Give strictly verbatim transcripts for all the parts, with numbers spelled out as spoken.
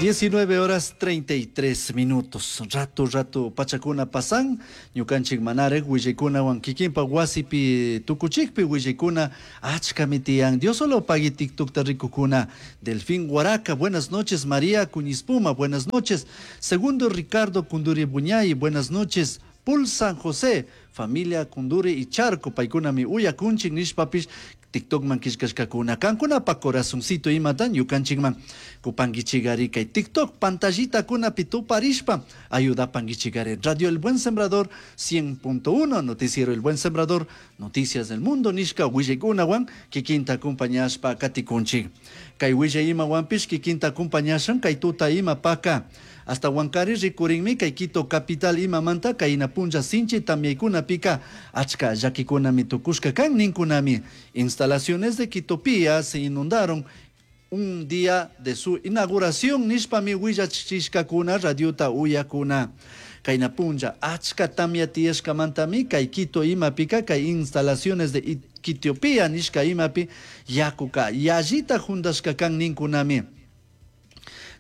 Diecinueve horas treinta y tres minutos. Rato, rato, pachakuna pasan. Ñukanchik manarek willikunawan kikinpa wasipi tukuchikpi willikuna achkami tiyan. Dios solo pagui TikTokta rikukuna. Delfín Guaraca, buenas noches. María Cuñispuma, buenas noches. Segundo Ricardo Kunduri Buñay, buenas noches. Pul San José, familia Kunduri y Charco, paykunami uyakunchik nishpapish TikTokman killkashkakuna. Kankunapa corazoncito imatan ñukanchikman kupankichigari kay TikTok pantallitakuna tuparishpa ayudapankichigari. Radio El Buen Sembrador cien punto uno, Noticiero El Buen Sembrador, Noticias del Mundo nishka willaykunawan kikinta acompañashpa katikunchik. Kay willay imawanpish kikinta acompañashan kay tuta imapaka. Hasta Huancari rikurinmi kay Quito capital imamanta kayna punlla sinchi tamyaykunapika achka llakikunami tukushka kan ninkunami. Instalaciones de Quitopía se inundaron un día de su inauguración nishpami willachishkakuna radiota uyakuna. Kayna punlla achka tamya tiyashkamantami kay Quito imapika kay instalaciones de Quitopía nishka imapi yakuka yallita jundashka kan ninkunami.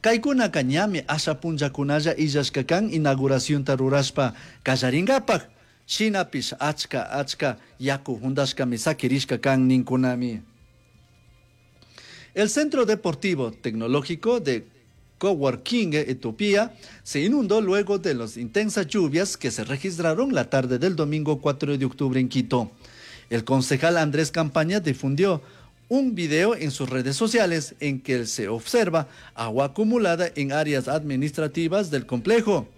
Kaykunaka ñami asha punllakunalla illashka kan inauguracionta rurashpa kallarinkapak. Shinapish achka achka yaku jundashkami sakirishka kan ninkunami. El Centro Deportivo Tecnológico de Coworking Etiopía se inundó luego de las intensas lluvias que se registraron la tarde del domingo cuatro de octubre en Quito. El concejal Andrés Campaña difundió un video en sus redes sociales en que se observa agua acumulada en áreas administrativas del complejo,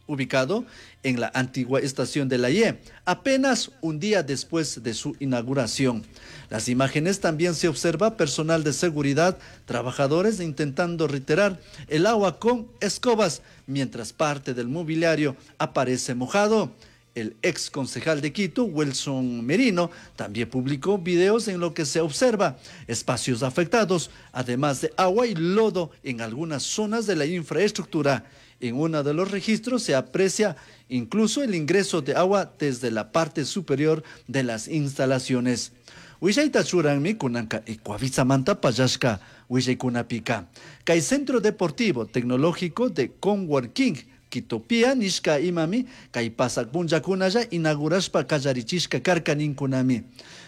ubicado en la antigua estación de la Y, apenas un día después de su inauguración. Las imágenes también se observa personal de seguridad, trabajadores intentando retirar el agua con escobas, mientras parte del mobiliario aparece mojado. El ex concejal de Quito, Wilson Merino, también publicó videos en lo que se observa espacios afectados, además de agua y lodo en algunas zonas de la infraestructura. En uno de los registros se aprecia incluso el ingreso de agua desde la parte superior de las instalaciones. Willayta churanmi kunanka Ecuavisa-manta pallashka willaykunapika. Kay Centro Deportivo Tecnológico de Coworking Quitopía nishka imami kay pasak punllakunalla inaugurashpa kallarichishka karka ninkunami.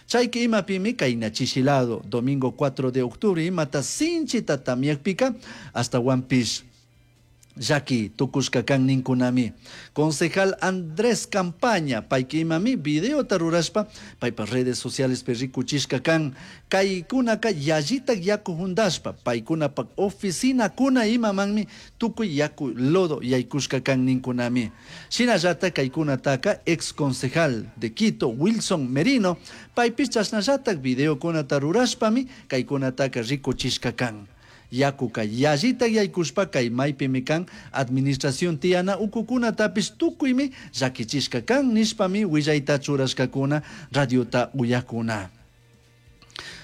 Chayki imapimi kay nachishilado domingo cuatro de octubre imata sinchita tamyakpika hasta Piece. Llaki tukushka kan ninkunami. Concejal Andrés Campaña, payki imami videota rurashpa, paypa redes sociales pe rikuchishka kan, kaykunaka yallitak yaku jundashpa, paykunapak oficina kuna imamanmi tukuy yaku lodo yaykushka kan ninkunami. Shinallata kaykunataka ex concejal de Quito, Wilson Merino, paypis chashnallatak videokunata rurashpami kaykunataka rikuchishka kan. Yakuka yallita yaykushpa kay maypimi kan administración tiyana ukukunatapis tukuymi llakichishka kan nishpami willayta churashkakuna radiota uyakuna.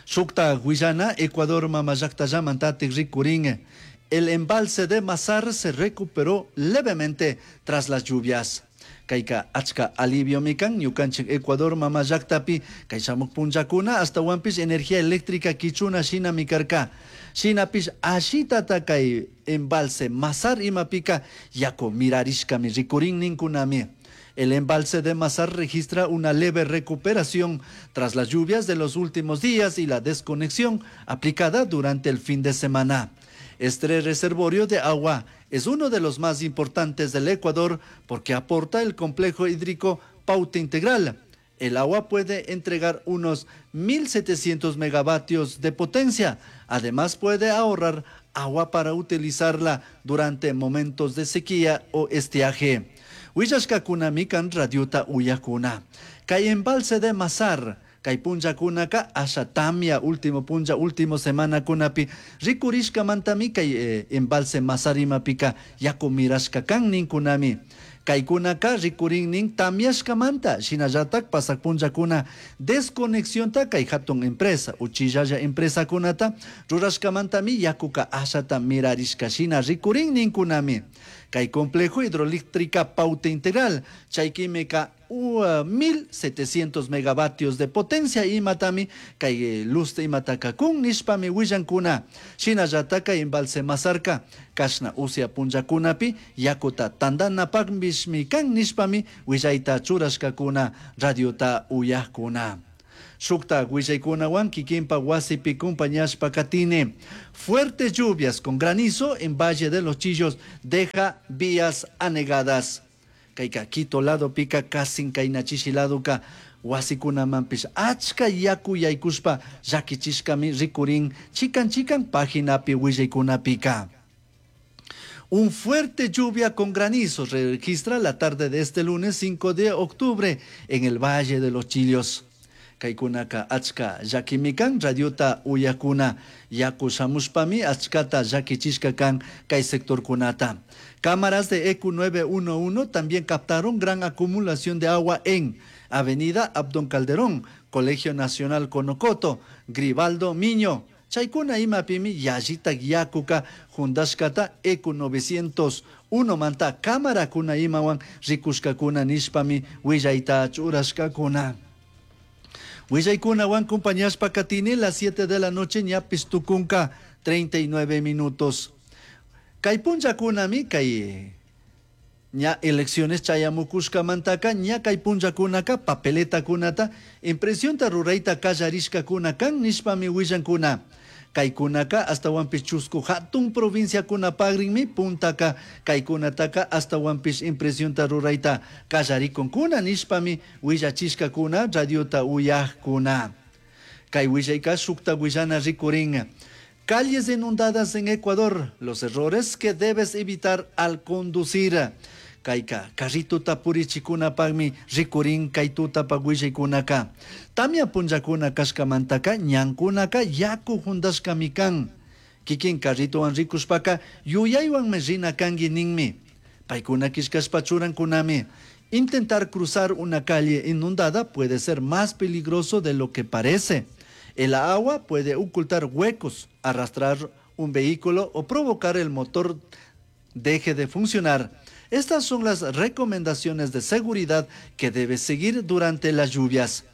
Shukta willana Ecuador mama llaktallamantatik rikurin. El embalse de Mazar se recuperó levemente tras las lluvias. Kayka achka alivio mikan ñukanchik Ecuador mama llaktapi kay shamuk punllakuna hasta wampis energía eléctrica kichuna shinami karka. Shinapish ashitata kay embalse Mazar imapika yaku mirarishkami rikurin ninkunami. El embalse de Mazar registra una leve recuperación tras las lluvias de los últimos días y la desconexión aplicada durante el fin de semana. Este reservorio de agua es uno de los más importantes del Ecuador porque aporta el complejo hídrico Paute Integral. El agua puede entregar unos mil setecientos megavatios de potencia. Además puede ahorrar agua para utilizarla durante momentos de sequía o estiaje. Willashkakuna mikan radiota uyakuna. Kay embalse de Mazar, kay punllakunaka asha tamia último punlla, último semana kunapi rikurishka mantami kay, eh, embalse Mazar imapika yaku mirashka kan ninkunami. Kaykunaka rikurinnin tamyashkamanta shinallatak pasak punllakuna desconexionta kay hatun empresa uchillalla empresakunata rurashkamantami yakuka ashata mirarishka shina rikurin ninkunami. Kay complejo hidroeléctrica Paute Integral, chaykimika mil setecientos megavatios de potencia imatami kay luz imataka kun nishpami willankuna. Shinallata kay embalse Mazarca kashna usya punllakunapi yakuta tandanapakpishmi kan nishpami willayta churashkakuna radiota uyakuna. Shukta willaykunawan kikinpa wasipi compañashpa katini. Fuertes lluvias con granizo en Valle de los Chillos deja vías anegadas. Kayka Quito ladopika kasin kaynachishi ladoka wasikunamanpish achka yaku yaykushpa llakichishkami rikurin chikan chikan paginapi willaykunapika. Un fuerte lluvia con granizo registra la tarde de este lunes cinco de octubre en el Valle de los Chillos. Kaykunaka achka llakimikan radiota uyakuna yaku shamushpami achkata llakichishka kan kay sectorkunata. Cámaras de E Q nueve uno uno también captaron gran acumulación de agua en Avenida Abdón Calderón, Colegio Nacional Conocoto, Gribaldo Miño. Chaykuna imapimi yallita yakuka jundashkata E Q novecientos uno manta cámarakuna imawan rikushkakuna nishpami willayta churashkakuna. Willaykunawan compañashpa katini las siete de la noche ñapis tukunka treinta y nueve minutos. Kay punllakunami kay ña elecciones chayamukushkamantaka ña kay punllakunaka papeletakunata impresionta rurayta kallarishkakuna kan nishpami willankuna. Kaykunaka astawanpish chusku hatun provinciakunapakrinmi puntaka kaykunataka astawanpish impresionta rurayta kallarikunkuna nishpami willachishkakuna radiota uyajkuna. Kay willayka shukta willana rikurin. Calles inundadas en Ecuador, los errores que debes evitar al conducir. Kayka carrituta purichikunapakmi rikurin kaytutapak willaykunaka. Tamya punllakuna kashkamantaka ñankunaka yaku juntashkami kan. Kikin carrituwan rikushpaka yuyaywanmi rina kanki ninmi. Paykuna kishkashpa churankunami. Intentar cruzar una calle inundada puede ser más peligroso de lo que parece. El agua puede ocultar huecos, arrastrar un vehículo o provocar el motor deje de funcionar. Estas son las recomendaciones de seguridad que debes seguir durante las lluvias.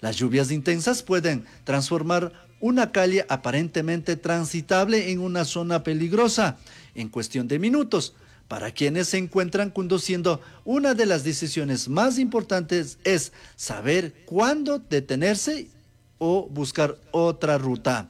Las lluvias intensas pueden transformar una calle aparentemente transitable en una zona peligrosa en cuestión de minutos. Para quienes se encuentran conduciendo, una de las decisiones más importantes es saber cuándo detenerse o buscar otra ruta.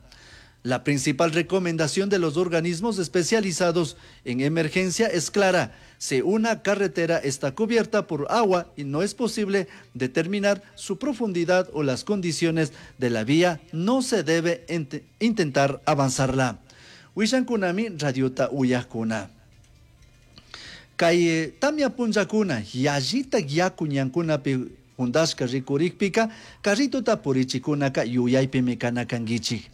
La principal recomendación de los organismos especializados en emergencia es clara. Si una carretera está cubierta por agua y no es posible determinar su profundidad o las condiciones de la vía, no se debe ente-, intentar avanzarla. Wishankunami radiota uyakuna. Kay tamya punllakuna yallita yaku ñankunapi juntashka rikurikpika carritota purichikunaka yuyaypimi kana kankichik.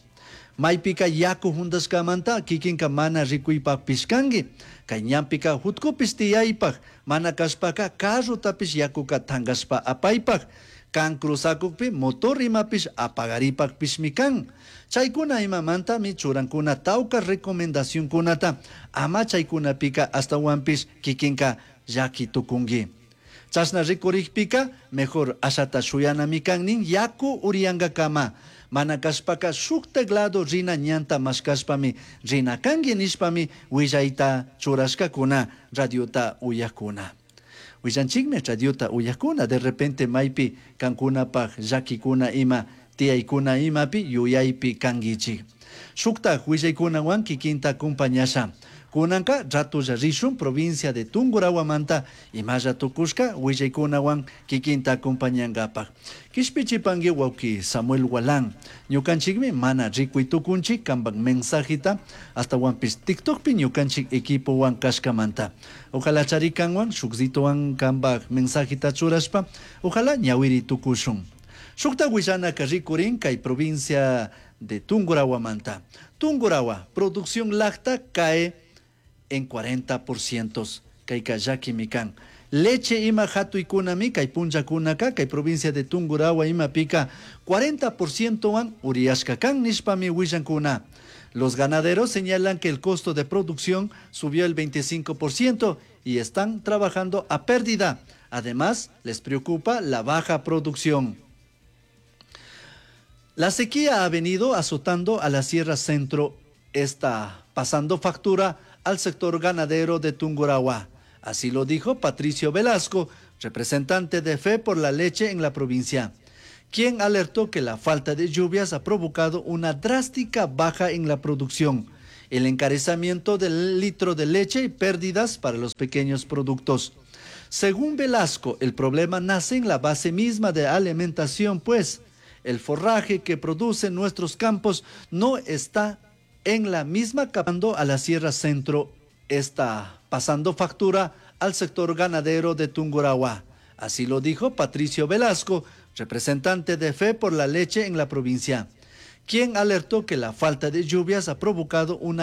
Maypika yaku juntashkamanta kikinka mana rikuypakpish kanki. Kay ñanpika jutkupish tiyaypak, mana kashpaka carrotapish yakuka tankashpa apaypak. Kan cruzakukpi motor imapish apagaripakpishmi kan. Chaykuna imamantami churankuna tawka recomendacionkunata ama chaykunapika astawanpish kikinka llaki tukunki. Chashna rikurikpika mejor ashata shuyanami kannin yaku uriyankakama. Mana kashpaka shuk teclado rina ñanta mashkashpami rina kanki nishpami willayta churashkakuna radiota uyakuna. Willanchikmi radiota uyakuna de repente maypi kankunapaj llakikuna ima tiyaykuna imapi yuyaypi kankichik. Shuktaj willaykunawan kikinta acompañasha. Kunanka ratulla rishun provincia de Tungurawamanta imalla tukushka willaykunawan kikinta acompañankapak. Kishpichipanki wawki Samuel Walán. Ñukanchikmi mana rikuy tukunchik kanpak mensajita hasta wanpish TikTokpi ñukanchik equipowan kashkamanta. Ojalá charikanwan shukzitowan kanpak mensajita churashpa, ojalá ñawiri tukushun. Shukta willanaka rikurin kay provincia de Tungurawamanta. Tungurahua, producción láctea cae en cuarenta por ciento. Kayka llakimi kan. Leche ima hatuykunami kay punllakunaka kay provincia de Tungurahua imapika cuarenta por ciento wan uriyashka kan nishpami willankuna. Los ganaderos señalan que el costo de producción subió el veinticinco por ciento y están trabajando a pérdida. Además, les preocupa la baja producción. La sequía ha venido azotando a la Sierra Centro, está pasando factura al sector ganadero de Tungurahua. Así lo dijo Patricio Velasco, representante de Fe por la Leche en la provincia, quien alertó que la falta de lluvias ha provocado una drástica baja en la producción, el encarecimiento del litro de leche y pérdidas para los pequeños productos. Según Velasco, el problema nace en la base misma de alimentación, pues el forraje que producen nuestros campos no está en la misma capa a la Sierra Centro, está pasando factura al sector ganadero de Tungurahua. Así lo dijo Patricio Velasco, representante de Fe por la Leche en la provincia, quien alertó que la falta de lluvias ha provocado una